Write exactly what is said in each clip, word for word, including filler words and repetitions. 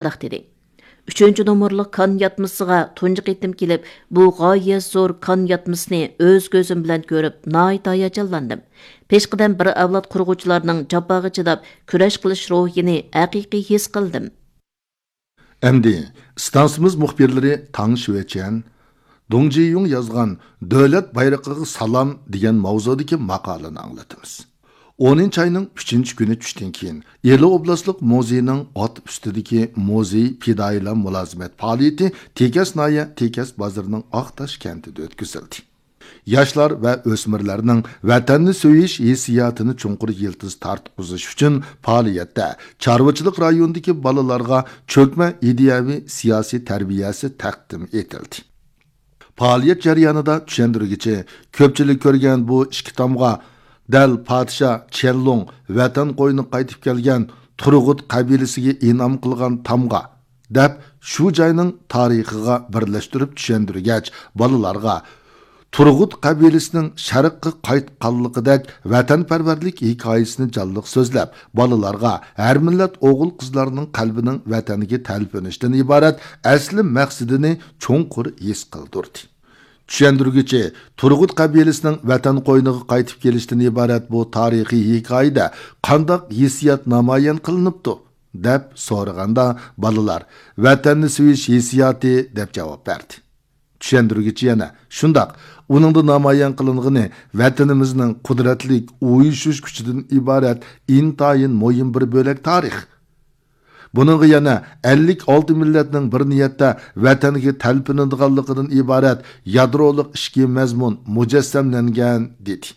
مۇنداق دېدى: «ئۈچىنچى نومۇرلۇق كان ياتمىسىغا تۇنجى قېتىم كېلىپ، بۇ غايەت زور كان ياتمىسىنى ئۆز كۆزۈم بىلەن كۆرۈپ، ناھايىتى ھاياجانلاندىم. پېشقەدەم بىر ئەۋلاد قۇرغۇچىلارنىڭ جاپاغا چىداپ كۈرەش قىلىش روھىنى ھەقىقىي ھېس قىلدىم.» ئەمدى ئىستانسىمىز مۇخبىرلىرى تاڭ شۈەچيەن، دۇڭ جىيۇڭ يازغان «دۆلەت بايرىقىغا سالام» دېگەن ماۋزۇدىكى ماقالىنى ئاڭلىتىمىز. ئونىنچى ئاينىڭ ئۈچىنچى كۈنى چۈشتىن كېيىن، ئىلى ئوبلاستلىق مۇزېينىڭ ئات ئۈستىدىكى مۇزېي پىدائىيلار مۇلازىمەت پائالىيىتى تېكەس ناھىيە تېكەس بازىرىنىڭ ئاقتاش كەنتىدە ئۆتكۈزۈلدى. ياشلار ۋە ئۆسمۈرلەرنىڭ ۋەتەننى سۆيۈش ھېسسىياتىنى چوڭقۇر يىلتىز تارتقۇزۇش ئۈچۈن پائالىيەتتە چارۋىچىلىق رايونىدىكى بالىلارغا چۆكمە ئىدىيەۋى سىياسىي تەربىيەسى تەقدىم ئېتىلدى. پائالىيەت جەريانىدا چۈشەندۈرگۈچى كۆپچىلىك كۆرگەن بۇ ئىككى تامغا، دەل پادىشاھ چيەنلۇڭ ۋەتەن قوينىغا قايتىپ كەلگەن تۇرغۇت قەبىلىسىگە ئىنئام قىلغان تامغا، دەپ، شۇ جاينىڭ تارىخىغا بىرلەشتۈرۈپ چۈشەندۈرگەچ، بالىلارغا تۇرغۇت قەبىلىسىنىڭ شەرققە قايتقانلىقىدەك ۋەتەنپەرۋەرلىك ھېكايىسىنى جانلىق سۆزلەپ، بالىلارغا ھەر مىللەت ئوغۇل-قىزلارنىڭ قەلبىنىڭ ۋەتەنگە تەلپۈنۈشتىن ئىبارەت ئەسلى مەقسىتىنى چوڭقۇر ھېس قىلدۇردى. چۈشەندۈرگۈچى تۇرغۇت قەبىلىسىنىڭ ۋەتەن قوينىغا قايتىپ كېلىشتىن ئىبارەت بۇ تارىخىي ھېكايىدە قانداق ھېسسىيات نامايان قىلىنىپتۇ؟ دەپ سورىغاندا، بالىلار «ۋەتەننى سۆيۈش ھېسسىياتى» دەپ جاۋاب بەردى. چۈشەندۈرگۈچى يەنە: «شۇنداق، ئۇنىڭدا نامايان قىلىنغىنى ۋەتىنىمىزنىڭ قۇدرەتلىك ئۇيۇشۇش كۈچىدىن ئىبارەت ئىنتايىن مۇھىم بىر بۆلەك تارىخ. بۇنىڭغا يەنە ئەللىك ئالتە مىللەتنىڭ بىر نىيەتتە ۋەتەنگە تەلپۈنىدىغانلىقىدىن ئىبارەت يادرولۇق ئىچكى مەزمۇن مۇجەسسەملەنگەن» دېدى.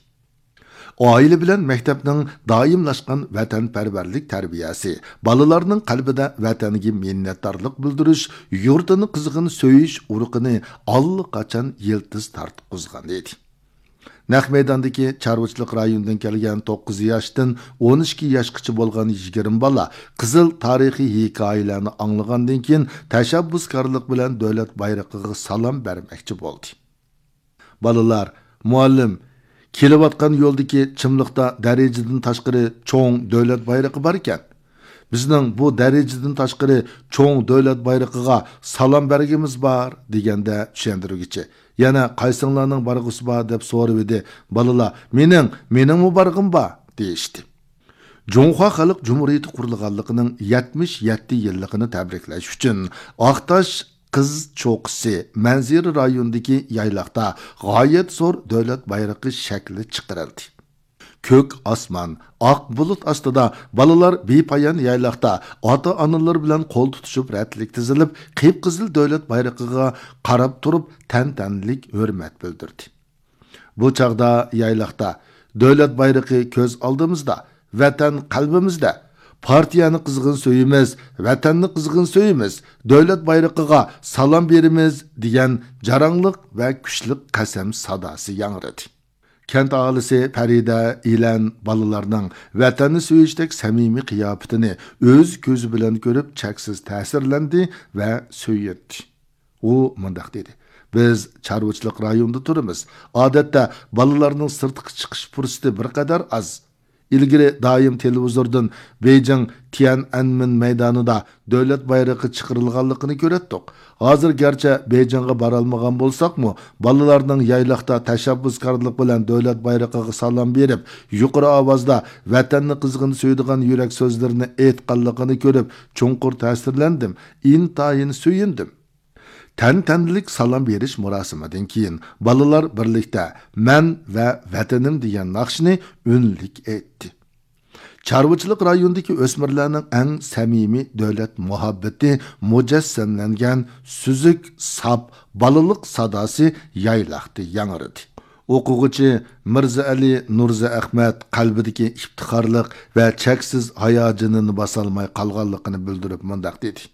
ئائىلە بىلەن مەكتەپنىڭ دائىملاشقان ۋەتەنپەرۋەرلىك تەربىيەسى، بالىلارنىڭ قەلبىدە ۋەتەنگە مىننەتدارلىق بىلدۈرۈش، يۇرتىنى قىزغىن سۆيۈش ئۇرۇقىنى ئاللىقاچان يىلتىز تارتقۇزغان ئىدى. نەق مەيداندىكى چارۋىچىلىق رايونىدىن كەلگەن توققۇز ياشتىن ئون ئىككى ياشقىچە بولغان يىگىرمە بالا قىزىل تارىخىي ھېكايىلەرنى ئاڭلىغاندىن كېيىن، تەشەببۇسكارلىق بىلەن دۆلەت بايرىقىغا سالام بەرمەكچى بولدى. بالىلار: «مۇئەللىم، كېلىۋاتقان يولدىكى چىملىقتا دەرىجىدىن تاشقىرى چوڭ دۆلەت بايرىقى باركەن. بىزنىڭ بۇ دەرىجىدىن تاشقىرى چوڭ دۆلەت بايرىقىغا سالام بەرگىمىز بار» دېگەندە، چۈشەندۈرگۈچى: «يەنە قايسىڭلارنىڭ بارغۇسى بار؟» دەپ سورىۋىدى. بالىلار: «مېنىڭ، مېنىڭمۇ بارغۇم بار» دېيىشتى. جۇڭخۇا خەلق جۇمھۇرىيىتى قۇرۇلغانلىقىنىڭ يەتمىش يەتتە يىللىقىنى تەبرىكلەش ئۈچۈن، ئاقتاش قىز چوققىسى مەنزىرە رايونىدىكى يايلاقتا غايەت زور دۆلەت بايرىقى شەكلى چىقىرىلدى. كۆك ئاسمان، ئاق بۇلۇت ئاستىدا بالىلار بىپايان يايلاقتا ئاتا-ئانىلىرى بىلەن قول تۇتۇشۇپ، رەتلىك تىزىلىپ، قىپقىزىل دۆلەت بايرىقىغا قاراپ تۇرۇپ، تەنتەنىلىك ھۆرمەت بىلدۈردى. بۇ چاغدا يايلاقتا دۆلەت بايرىقى كۆز ئالدىمىزدا، ۋەتەن قەلبىمىزدە، پارتىيەنى قىزغىن سۆيىمىز، ۋەتەننى قىزغىن سۆيىمىز، دۆلەت بايرىقىغا سالام بېرىمىز دېگەن جاراڭلىق ۋە كۈچلۈك قەسەم ساداسى ياڭرىدى. كەنت ئاھالىسى پەرىدە ئىلەن بالىلارنىڭ ۋەتەننى سۆيۈشتەك سەمىمىي قىياپىتىنى ئۆز كۆزى بىلەن كۆرۈپ، چەكسىز تەسىرلەندى ۋە سۆيۈندى. ئۇ مۇنداق دېدى: «بىز چارۋىچىلىق رايونىدا تۇرىمىز. ئادەتتە بالىلارنىڭ سىرتقا چىقىش پۇرسىتى بىر قەدەر ئاز. ئىلگىرى دائىم تېلېۋىزوردىن بېيجىڭ تيەنئەنمېن مەيدانىدا دۆلەت بايرىقى چىقىرىلغانلىقىنى كۆرەتتۇق. ھازىر گەرچە بېيجىڭغا بارالمىغان بولساقمۇ، بالىلارنىڭ يايلاقتا تەشەببۇسكارلىق بىلەن دۆلەت بايرىقىغا سالام بېرىپ، يۇقىرى ئاۋازدا ۋەتەننى قىزغىن سۆيىدىغان يۈرەك سۆزلىرىنى ئېيتقانلىقىنى كۆرۈپ، چوڭقۇر تەسىرلەندىم، ئىنتايىن سۆيۈندۈم.» تەنتەنىلىك سالام بېرىش مۇراسىمىدىن كېيىن، بالىلار بىرلىكتە «مەن ۋە ۋەتىنىم» دېگەن ناخشىنى ئۈنلۈك ئېيتتى. چارۋىچىلىق رايونىدىكى ئۆسمۈرلەرنىڭ ئەڭ سەمىمىي دۆلەت مۇھەببىتى مۇجەسسەملەنگەن سۈزۈك، ساپ بالىلىق ساداسى يايلاقتا ياڭرىدى. ئوقۇغۇچى مىرزائەلى نۇرزائەخمەت قەلبىدىكى ئىپتىخارلىق ۋە چەكسىز ھاياجىنىنى باسالماي قالغانلىقىنى بىلدۈرۈپ مۇنداق دېدى: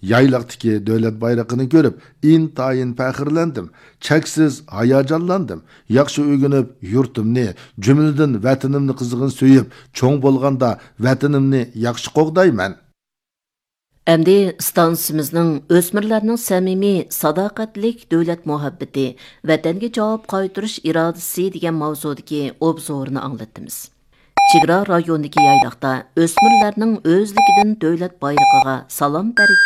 «يايلاقتىكى دۆلەت بايرىقىنى كۆرۈپ، ئىنتايىن پەخىرلەندىم، چەكسىز ھاياجانلاندىم. ياخشى ئۆگىنىپ، يۇرتۇمنى، جۈملىدىن ۋەتىنىمنى قىزغىن سۆيۈپ، چوڭ بولغاندا ۋەتىنىمنى ياخشى قوغدايمەن.» ئەمدى ئىستانسىمىزنىڭ ئۆسمۈرلەرنىڭ سەمىمىي، ساداقەتلىك دۆلەت مۇھەببىتى، ۋەتەنگە جاۋاب قايتۇرۇش ئىرادىسى دېگەن ماۋزۇدىكى ئوبزورىنى ئاڭلىتىمىز. چېگرا رايونىدىكى يايلاقتا ئۆسمۈرلەرنىڭ ئۆزلۈكىدىن دۆلەت بايرىقىغا سالام بەرگەن